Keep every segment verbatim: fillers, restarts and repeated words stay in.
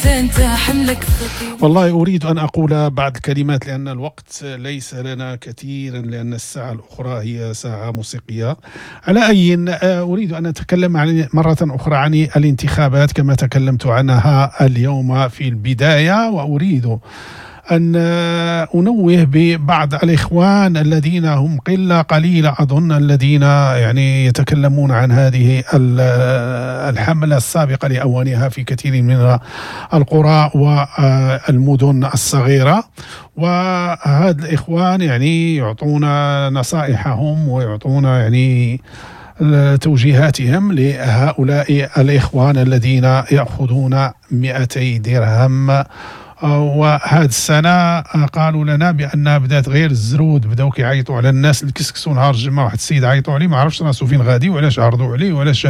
حتى انت حملك ثقيل. والله أريد أن أقول بعض الكلمات لأن الوقت ليس لنا كثيرا، لأن الساعة الأخرى هي ساعة موسيقية. على أي، أريد أن أتكلم عن مرة أخرى عن الانتخابات كما تكلمت عنها اليوم في البداية، وأريد أن أنوه ببعض الإخوان الذين هم قلة قليلة أظن، الذين يعني يتكلمون عن هذه الحملة السابقة لأوانها في كثير من القرى والمدن الصغيرة. وهذا الإخوان يعني يعطون نصائحهم ويعطون يعني توجيهاتهم لهؤلاء الإخوان الذين يأخذون مئتي درهم. وهذه السنة قالوا لنا بأن بدات غير الزرود، بداو كيعيطوا على الناس الكسكسو نهار الجمعة. واحد السيد عيطوا عليه ما عرفش راسو فين غادي وعلاش عرضوا عليه وعلاش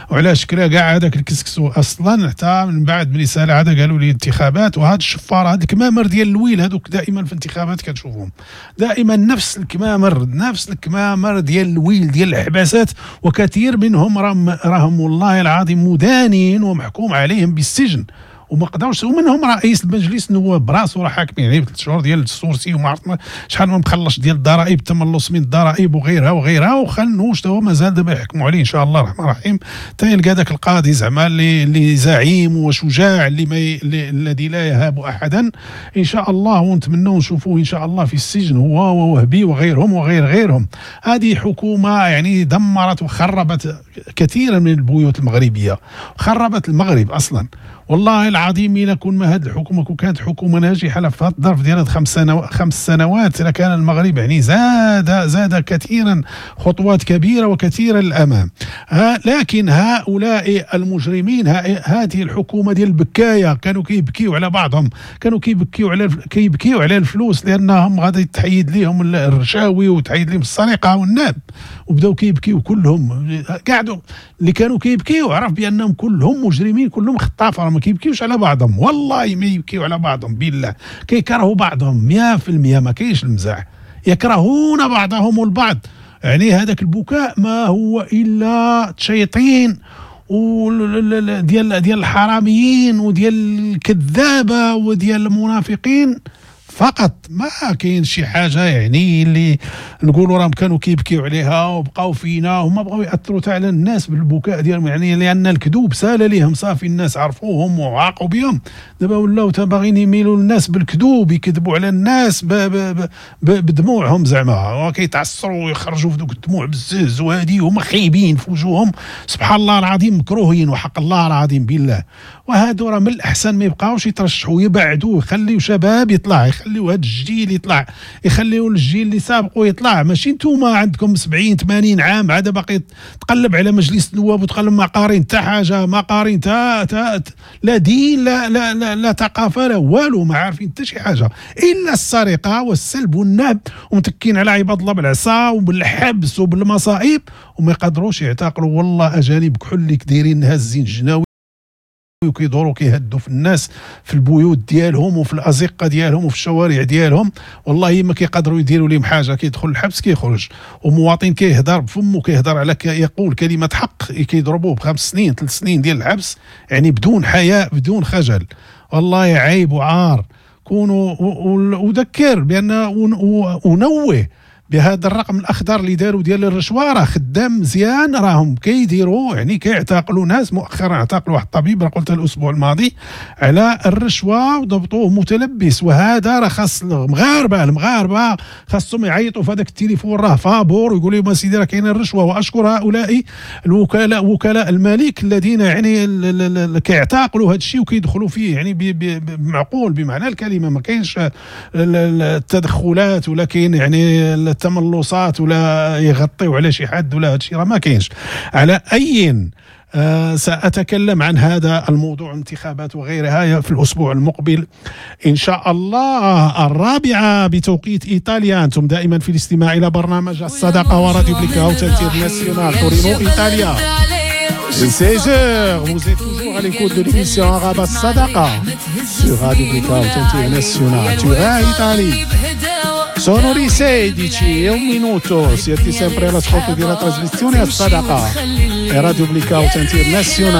وعلاش كلا كاع هذاك الكسكسو اصلا. حتى من بعد ملي سال هذا قالوا لي انتخابات. وهاد الشفاره، هاد الكمامر ديال الويل، هذوك دائما في الانتخابات كتشوفهم دائما نفس الكمامر، نفس الكمامر ديال الويل ديال الحباسات، وكثير منهم راهم راهم والله العظيم مدانين ومحكوم عليهم بالسجن وما قدروش. ومنهم رئيس المجلس النواب براسو راه حاكمين عليه بثلاث شهور ديال ال sursis وما عرفت شحال ما مخلص ديال الضرائب، التملص من الضرائب وغيرها وغيرها. وخنوش تا هو مازال دابا يحكموا عليه ان شاء الله الرحمن الرحيم حتى يلقى ذاك القاضي زعما اللي اللي زعيم وشجاع اللي ما ي... الذي لا يهاب احدا ان شاء الله. ونتمنوا نشوفوه ان شاء الله في السجن هو ووهبي وغيرهم وغير غيرهم. هذه حكومة يعني دمرت وخربت كثيرا من البيوت المغربية، خربت المغرب اصلا. والله العظيم إلا كون ما هذه الحكومة كون كانت حكومة ناجحة في هذا الظرف ديال خمس سنوات خمس سنوات لكان المغرب يعني زاد زاد كثيرا، خطوات كبيرة وكثيره للامام. لكن هؤلاء المجرمين، هذه الحكومة ديال البكايه، كانوا كيبكيو على بعضهم، كانوا كيبكيو على كيبكيو على الفلوس لانهم غادي تحيد لهم الرشاوي وتحيد لهم السرقة والنهب، وبداو كيبكيو كلهم. قعدوا اللي كانوا كيبكيو عرف بانهم كلهم مجرمين، كلهم خطافه، ما كيبكيوش على بعضهم، والله ما يبكيو على بعضهم بالله، كيكرهوا بعضهم مية في المية، ما كاينش المزاح، يكرهون بعضهم البعض. يعني هذاك البكاء ما هو الا تشيطين وديال ديال الحراميين وديال الكذابه وديال المنافقين فقط، ما كاين شي حاجة يعني اللي نقولوا راهم كانوا كيبكيو عليها وبقاو فينا. هما بغاو ياثروا حتى على الناس بالبكاء ديالهم، يعني لان الكذوب سال ليهم صافي، الناس عرفوهم وعاقوا بهم. دابا ولاو باغيين يميلوا الناس بالكذوب، يكذبوا على الناس ب ب ب بدموعهم زعما، وكيتعصروا ويخرجوا في دوك الدموع بزز، وهذه هما خايبين في وجوههم سبحان الله العظيم، مكروهين وحق الله العظيم بالله. وهادو راه من الاحسن ما يبقاوش يترشحوا، يبعدوا، يخليو شباب يطلع، يخليو هاد الجيل يطلع، يخليو الجيل اللي سابقوا يطلع. ماشي نتوما عندكم سبعين ثمانين عام عاد باقي تقلب على مجلس النواب وتقلب ما قارين حتى حاجة، ما قارين تا لا دين لا لا لا, لا ثقافة لا والو، ما عارفين حتى شي حاجة الا السرقة والسلب والنهب، ومتكين على عباد الله بالعصا وبالحبس وبالمصائب، وما يقدروش يعتقلوا. والله اجانب كحل دايرين هازين الجناوي وكيدوروا كيهدوا في الناس في البيوت ديالهم وفي الازقه ديالهم وفي الشوارع ديالهم، والله ما كيقدروا يديروا لهم حاجة. كيدخل الحبس كيخرج، ومواطن كيهدر بفمه كيهدر على يقول كلمة حق كيضربوه بخمس سنين ثلاث سنين ديال الحبس، يعني بدون حياء بدون خجل. والله عيب وعار. كونوا وذكر بان ونوه بهذا الرقم الاخضر اللي داروا ديال الرشوة راه خدام مزيان، راهم كيديروا يعني كيعتقلوا ناس. مؤخرا اعتقلوا واحد الطبيب راه قلت الاسبوع الماضي على الرشوة وضبطوه متلبس. وهذا راه خاص المغاربة المغاربة خاصهم يعيطوا في هذاك التليفون راه فابور ويقولوا لهم اسيدي راه كاينه الرشوة. واشكر هؤلاء الوكلاء وكلاء الملك الذين يعني كيعتقلوا هذا الشيء وكيدخلوا فيه يعني بمعقول بمعنى الكلمة، ما كاينش التدخلات ولا كاين يعني التملصات ولا يغطيو على شي حد ولا هادشي راه ما كاينش. على اي آه سأتكلم عن هذا الموضوع انتخابات وغيرها في الأسبوع المقبل إن شاء الله. الرابعة بتوقيت إيطاليا. أنتم دائما في الاستماع إلى برنامج الصداقة وراديو Blackout International تورينو إيطاليا. seize heures, vous êtes toujours à l'écoute de l'émission Arabe Sadaqa sur Radio Blackout International Turin, Italie. Sono le sedici e un minuto, siete sempre all'ascolto della trasmissione As Sadaqa e Radio Blackout International.